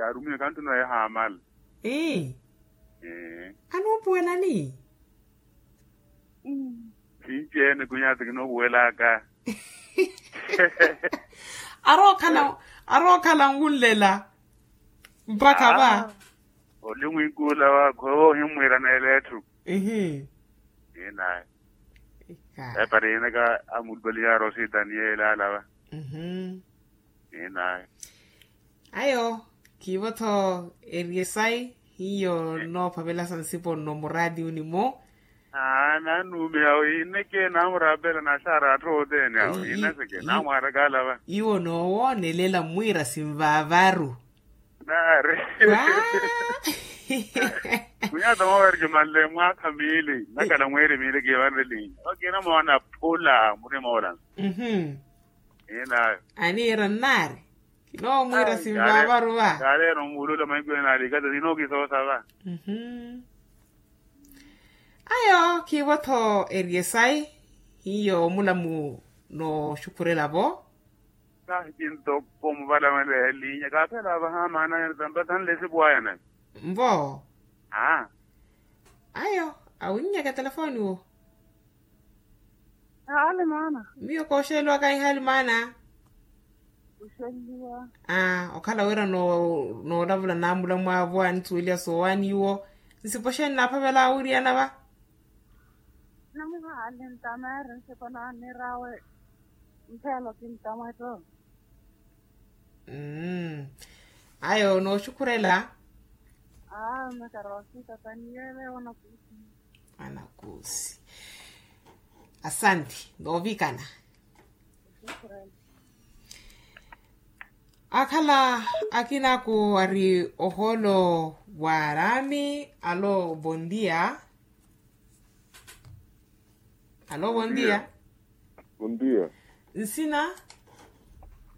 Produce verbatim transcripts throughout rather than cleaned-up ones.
Kaarumiwe kanttuna oya haamala. Ee. Anuupuwelani? Sinci-ene khunyaati kinoopuwelaka. Arookhala arookhala nwunlela mpakha va. Oli mwinkula waakhu ewo ohimmwiiraneela etthu. Ihi. Inayi. Epari inaka amulupaliyaari ositani yeela alava. Inayi. Ayo khiivo-tho eri esayi hiyo noophavela sa nsipo nno muraatiyuni-mo. Aa nanuumiha wi ineke naamuraapela naxaara atthu othene awo inaseke naamwaaraka alava. Iwo noowoonelela mmwiira sinvaavaru. Naari. Khunyaata moowereke manle mwaakha miili nnakhala mweeri miili kiivanre linya okina moona phula murima olansa. Inayo. Aniira nnaari. Kinoomwiira sinvaavaru va. Kaaleera omuulula mahiku ene alikata sinookisoosa va. Ayo khiivo-tho eri esayi hiyo omulamu nooxukhurela-vo. Kahi kintoko muvalamale elinya kaaphela vaha maana ene tampa sanle esipuwaya nayo. Nvo. Aa. Ayo awinnyaka telefoni wo. Haali maana. Miyo kooxeliwaka ihaali maana. Oxeliwa. Aa okhala wira noolavula naamula mwaavo anithuweliya soowani iwo. Nsipo xeeni naaphavela awiriyana va? Namuhaali ntameeri nsipo naanirawe. Mphelo kintamwetto. Ayo nooxukhurela. Aa mekara wasikataniyeele wanakuusi. Anakuusi. Asanti noovikana. Akhala akinaaku ari ohoolo wa araami. Alo bondia. Alo bondia. Bondia. Nsina?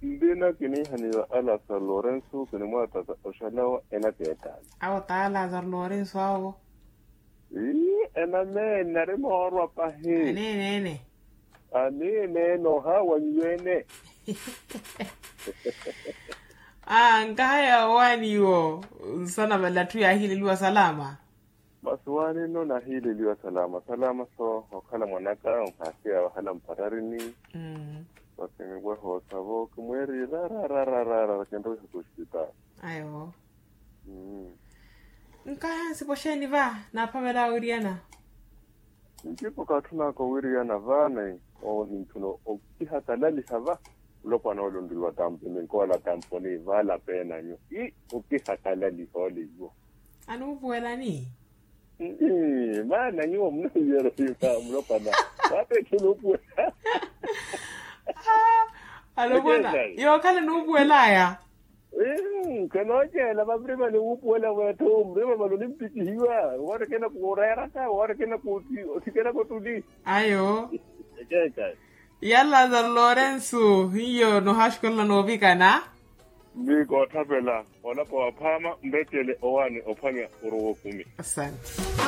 Ndina kiniihaniwa alasa lorenso kinimwaataka oxalawa ena keetaani. Awo taa lazaro lorenso awo. Ii enameene ari moorwa pahi. Aneene ene. Aneene ene ohaawanyiwa ene. Aa nkahaya owaani iwo. Nsana vale atthu yaahiileliwa salama. Masi waani nno nahiileliwa salama salama so okhala mwanaka onhaasiya wahala mpararini. Masi niweha osavo kimweeri rararararara kinrowiha kuxipitaali. Ayo. Nkaha nsipo xeeni va naaphavela awiriyana? Ntipo kaatthunaka owiriyana vaani. Owo ninthuna okihakalaliha va. Mulopwana ole onriliwa tampo ninkoola tamponi vaala peenanyu i okihakalaliha ole iwo. Anuupuwelani? Maana nyuwo munahiyerehiwa mulopwana. Waapetthula opuwela. Alopwana yookhala enuupuwelaya. Khanooceela vavirima ni wuupuwela wetthu murima mali onimpikihiwa. Woorekena kuureeraka woorekena kuuthi othikeraka otuli. Ayo. Ekeekhayi. Ya lazaro lorenso hiyo nohaxukelela noovikana. Mmi koothapela olapa waphaama nrettele owaani ophwanya orowa okumi. Asanti.